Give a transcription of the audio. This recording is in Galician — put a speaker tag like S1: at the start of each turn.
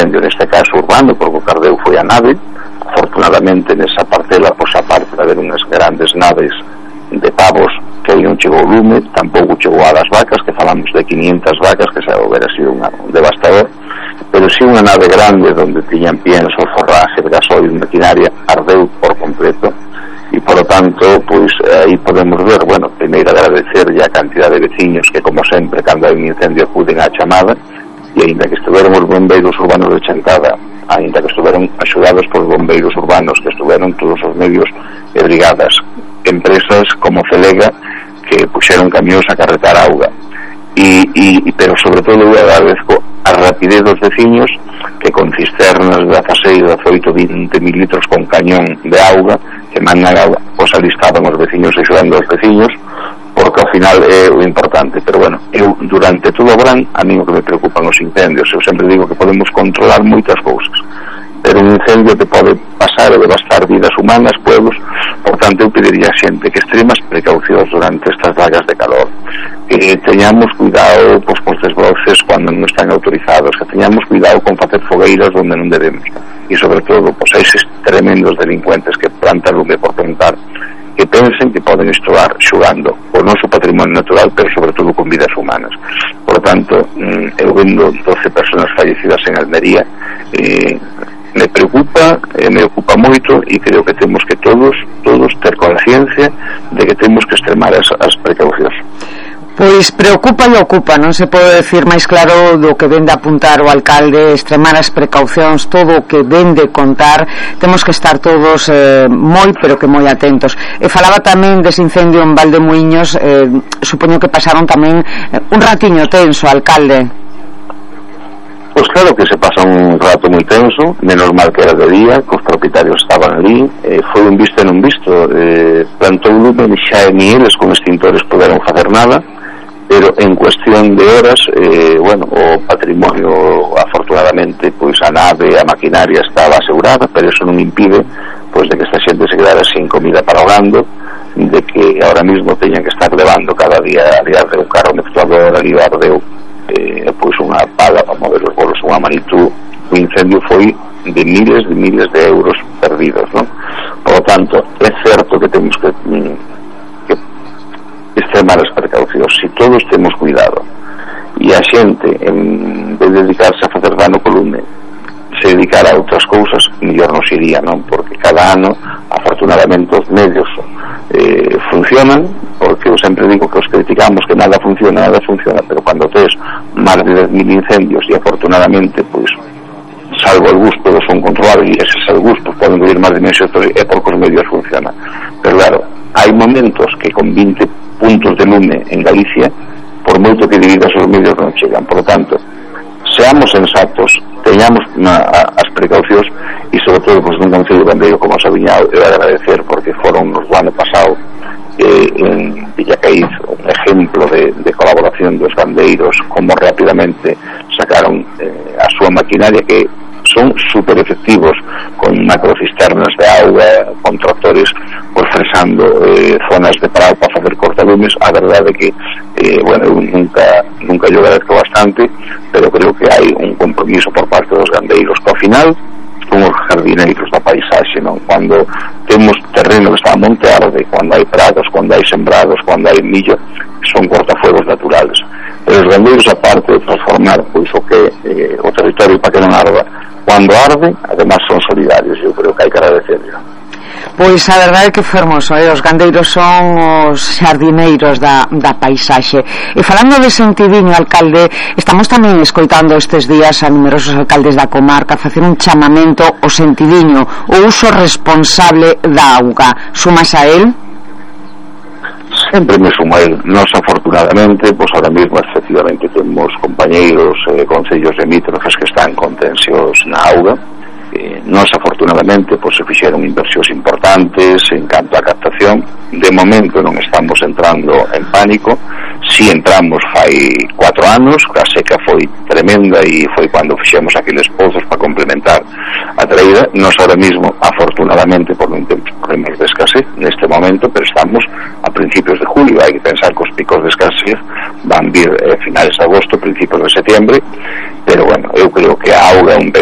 S1: incendio, neste caso urbano, porque o cardeu foi a nave. Afortunadamente nesa parcela, pois aparte de haber unhas grandes naves de pavos que aí non chegou o lume, tampouco chegou a das vacas, que falamos de 500 vacas, que xa houbera sido un devastador, pero si unha nave grande onde tiñan pienso, forraxe, gasoil, maquinaria, ardeu por completo. E por lo tanto, pois aí podemos ver, bueno, primeiro agradecer a cantidad de veciños que, como sempre, cando hai un incendio acuden á chamada, e aínda que estuveron os bombeiros urbanos de Chantada, aínda que estuveron axudados por bombeiros urbanos, que estuveron todos os medios e brigadas, empresas como Celega que puxeron camións a carretar auga, pero sobre todo eu agradezco a rapidez dos veciños que con cisternas de 16, 18, 20 mil litros con cañón de auga que mandan auga, pois ali estaban os veciños axudando aos veciños, porque ao final é o importante. Pero bueno, eu durante todo o verán, a mí o que me preocupan os incendios, eu sempre digo que podemos controlar moitas cousas, pero un incendio que pode pasar e devastar vidas humanas, pueblos. Por tanto, eu pediría a xente que extremas precaucións durante estas vagas de calor, que teñamos cuidado pois, cos desbroces cando non están autorizados, que teñamos cuidado con facer fogueiras onde non debemos, e sobre todo, pois, eses tremendos delincuentes que plantan lume por plantar, que pensen que poden estar xogando o noso patrimonio natural, pero sobre todo con vidas humanas. Por tanto, eu vendo 12 personas fallecidas en Almería, me preocupa, me ocupa moito, e creo que temos que todos ter conciencia de que temos que extremar as precaucións.
S2: Pois preocupa e ocupa, non se pode decir máis claro do que vende apuntar o alcalde, extremar as precaucións, todo o que vende contar. Temos que estar todos moi, pero que moi atentos. E falaba tamén dese incendio en Valdemuíños, supoño que pasaron tamén un ratiño tenso, alcalde.
S1: Pois claro que se pasa un rato moi tenso, menos mal que era de día, que os propietarios estaban ali, foi un visto e non visto, plantou lume, xa ni eles con extintores puderon facer nada, pero en cuestión de horas, bueno, o patrimonio, afortunadamente, pois a nave, a maquinaria estaba asegurada, pero eso non impide pois de que esta xente se quedara sin comida para o gando, de que ahora mismo teñan que estar levando cada día de un carro mezclador ali o ardeu, pois unha pala para mover os bolos, unha Manitou. O incendio foi de miles de euros perdidos, non? Por lo tanto, é certo que temos que extremar as precaucións. Se todos temos cuidado e a xente, en vez de dedicarse a facer dano co lume, se dedicara a outras cousas, mellor nos iría, non? Porque cada ano, afortunadamente, os medios funcionan, porque eu sempre digo que os criticamos que nada funciona, pero cando tes máis de 10.000 incendios e afortunadamente, pois, salvo algúns todos son controlados, e eses algúns pois, poden vivir máis de meses, é porque os medios funcionan. Pero claro, hai momentos que con 20 puntos de lume en Galicia, por moito que dividas os medios non chegan. Por lo tanto, seamos sensatos, teñamos as precaucións, e sobre todo pues, nun concello gandeiro como Sabiñao, eu agradecer porque foron nos do ano pasado en Villacaíz un ejemplo de colaboración dos gandeiros, como rapidamente sacaron a súa maquinaria, que son super efectivos con macrocisternas de auga, con tractores pues, fresando zonas de parado para facer cortalumes. A verdade é que bueno, eu nunca yo agradezco bastante, pero creo que hai un compromiso por parte dos gandeiros que ao final son os jardineiros da paisaxe, non? Cando temos terreno que está a monte arde, cando hai prados, cando hai sembrados, cando hai millo, son cortafuegos naturales. Pero os gandeiros, aparte de transformar pois o que o territorio para que non arda, cando arde, además son solidarios. Eu creo que hai que agradecerlo.
S2: Pois a verdade é que fermoso, os gandeiros son os xardineiros da paisaxe. E falando de sentidiño, alcalde, estamos tamén escoitando estes días a numerosos alcaldes da comarca facer un chamamento ao sentidiño, o uso responsable da auga. Sumas a él?
S1: Sempre me sumo a él. Nos, afortunadamente, pues ahora mismo efectivamente temos compañeiros concellos limítrofes que están con tensións na auga. Nos, afortunadamente, pues se fixeron inversións importantes en canto a captación. De momento non estamos entrando en pánico. Si entramos fai 4 anos, a seca foi tremenda e foi cando fixemos aqueles pozos para complementar a traída. Nos ahora mismo, afortunadamente, por non temos problemas de escasez neste momento, pero estamos a principios de julio. Hai que pensar que os picos de escasez van vir finales de agosto, principios de setembro, pero bueno, eu creo que a auga é un ben